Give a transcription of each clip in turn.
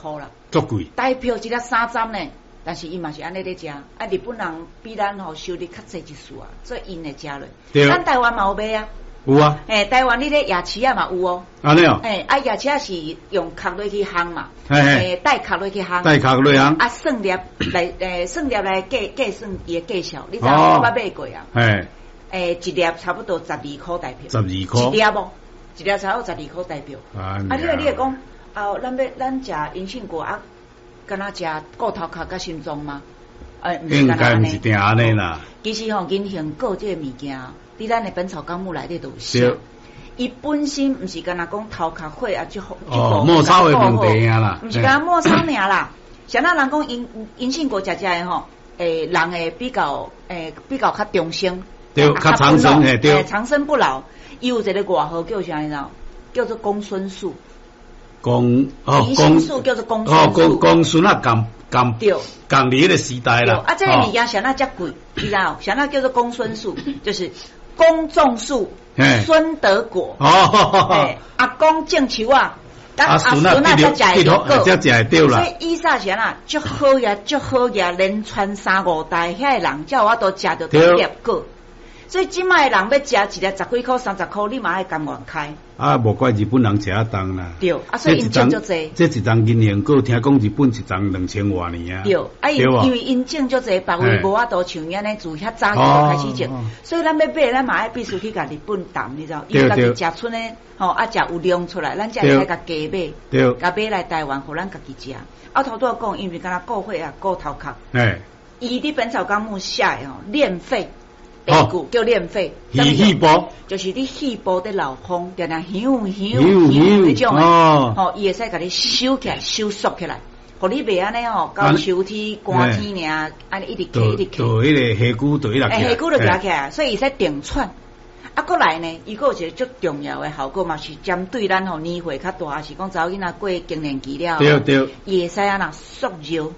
箍啦。足貴。台票一粒30呢，但是伊嘛是按呢咧食。啊，日本人比咱吼收入較濟一絲啊，所以𪜶會食落。咱台灣嘛有賣啊。有啊。欸，台灣你咧夜市仔嘛有哦。按呢哦。欸，啊夜市仔是用殼落去烘嘛。欸，帶殼落去烘。帶殼落烘。啊，算粒來，欸，算粒來計計算伊的價數，你知影我捌買過啊？欸，一粒差不多12箍台票。十二箍。一粒哦，一粒差不多十二箍台票。啊，你會講，啊，咱欲咱食銀杏果啊，敢若食顧頭殼佮心臟嗎？欸，應該毋是定按呢啦。其實吼，銀杏果這个物件，佇咱的本草綱目內底都有寫。伊本身毋是干焦講頭殼火啊，這哦，末梢的問題啊啦。毋是干焦末梢爾啦。像咱人講銀杏果食食的吼，欸，人會比較欸比較較長生。對，較長生嘿，對。長生不老，伊有一个外號叫啥？你知影？叫做公孫樹。公哦，銀杏樹叫做公孫樹。哦，公公孫啊，共共對，共佇彼个時代啦。啊，這个物件啥那遮貴，你知影？啥那叫做公孫樹？就是公種樹，孫得果。哦，阿公種樹仔，阿孫仔才食會果，才食會著啦。所以以前是按怎，足好額，足好額，連傳三五代，遐个人才有法度食著這粒果。所以這擺的人欲食一粒十幾箍、30箍，你嘛愛甘願開。啊，無怪日本人食啊重啦。對，啊，所以𪜶種足濟。這一叢銀杏果，聽講日本一叢2000外年啊。對，啊，因為𪜶種足濟，別位無法度像按呢自遐早期就開始種，所以咱欲買，咱嘛愛必須去共日本談，你知無？伊家己食賰的，吼，啊，食有量出來，咱才會使共加買，共買來台灣，予咱家己食。啊，頭拄仔講，伊毋是干焦顧火啊，顧頭殼。伊佇本草綱目寫的吼，練肺。哦，叫練肺，肺部，就是你肺部佇漏風，定定響響響彼種的，吼，伊會使共你收起來、收縮起來，予你袂按呢吼，到秋天寒天爾，按呢一直咳一直咳。就彼个氣球就彼落。欸，氣球就行起來，所以伊會使定喘。啊，閣來呢，伊閣有一個足重要的效果嘛，是針對咱吼年歲較大，抑是講查某囡仔過更年期了，伊會使按怎縮尿。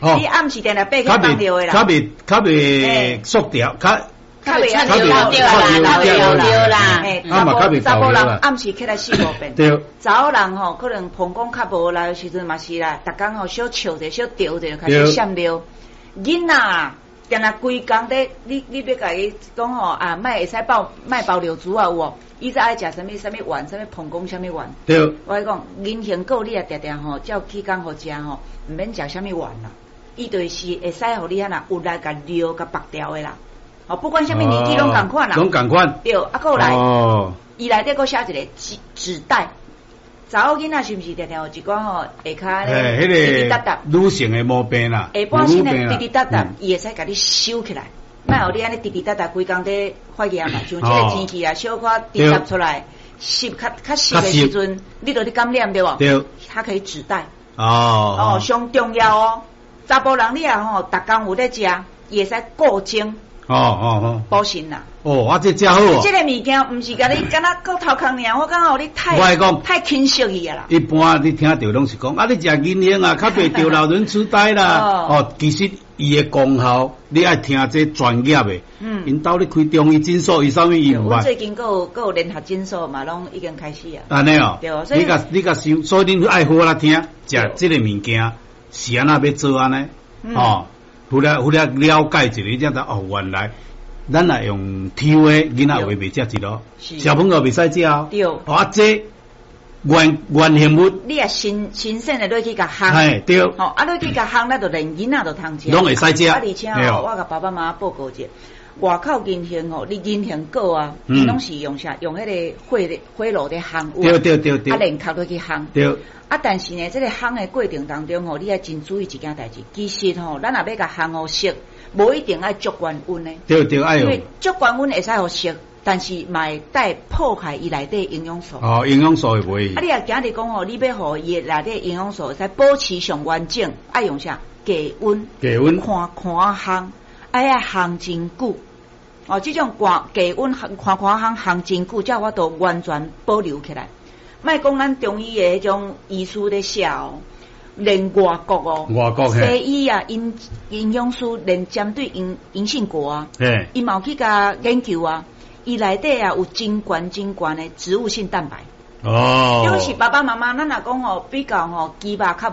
你暗時定定爬起來放尿的啦，較袂較袂縮掉，較較袂較袂漏尿啦。查埔人暗時起來四五遍。查某人吼可能膀胱較無力的時陣嘛是啦，逐工吼小笑者小著者就開始閃尿。囡仔定定規工佇你欲共伊講吼啊，莫會使包莫包尿珠啊有無？伊才愛食啥物啥物丸，啥物膀胱啥物丸。我共你講，銀杏果你若定定吼，照起工予食吼，毋免食啥物丸啦。伊就是會使予你按怎有力共尿共縛掉的啦，哦，不管啥物年紀攏仝款啦，攏仝款。對，啊，閣來，伊內底閣寫一個紙紙袋，查某囡仔是毋是定定有一寡吼下跤咧，彼个女性的毛病啦，下半身的滴滴答答，伊會使共你收起來，莫予你按呢滴滴答答規工佇發炎嘛，像這个天氣啊，小可滴答出來，濕較較濕的時陣，你就咧感染對無？對，它可以止帶。哦哦，上重要哦。查埔人你若吼，逐工有咧食，伊會使固精。哦哦哦，補腎啦。哦，啊，這遮好哦。這个物件毋是共你敢若顧頭殼爾，我感覺予你太太輕視去啊啦。一般你聽著攏是講，啊，你食銀杏啊，較袂著老人痴呆啦。哦，其實伊的功效，你愛聽這專業的。𪜶兜咧開中醫診所，伊啥物伊毋捌。阮最近閣有閣有聯合診所嘛，攏已經開始啊。按呢哦。對，所以你共你共想，所以恁愛好好聽，食這个物件。是按怎欲做按呢？哦，有了有了了解一下，你才知哦，原來咱若用抽的，囡仔話袂食一囉，小朋友袂使食哦。對。哦，啊，這原原形物，你若新新鮮的落去共烘，嘿，對。吼，啊，落去共烘，咱就連囡仔都通食。攏會使食。啊，而且吼，我共爸爸媽媽報告一下，外口銀杏吼，你銀杏果啊，伊攏是用啥？用彼个火火爐咧烘。對對對對。啊，連殼落去烘。對。啊，但是呢，這个烘的過程當中吼，你愛真注意一件代誌。其實吼，咱若欲共烘予熟，無一定愛足懸溫的。對對，愛因為足懸溫會使予熟，但是嘛會帶破壞伊內底營養素。哦，營養素會袂？啊，你若今日講吼，你欲予伊內底營養素會使保持上完整，愛用啥？低溫。低溫。看看烘，愛烘真久。哦，這種寒低溫看看烘烘真久，才有法度完全保留起來。莫講咱中醫的彼種醫師咧寫哦，連外國哦，外國西醫啊，營營養師連針對銀銀杏果啊，伊嘛有去共研究啊，伊內底啊有真懸真懸的植物性蛋白。尤其爸爸媽媽，咱若講吼比較吼雞肉較無。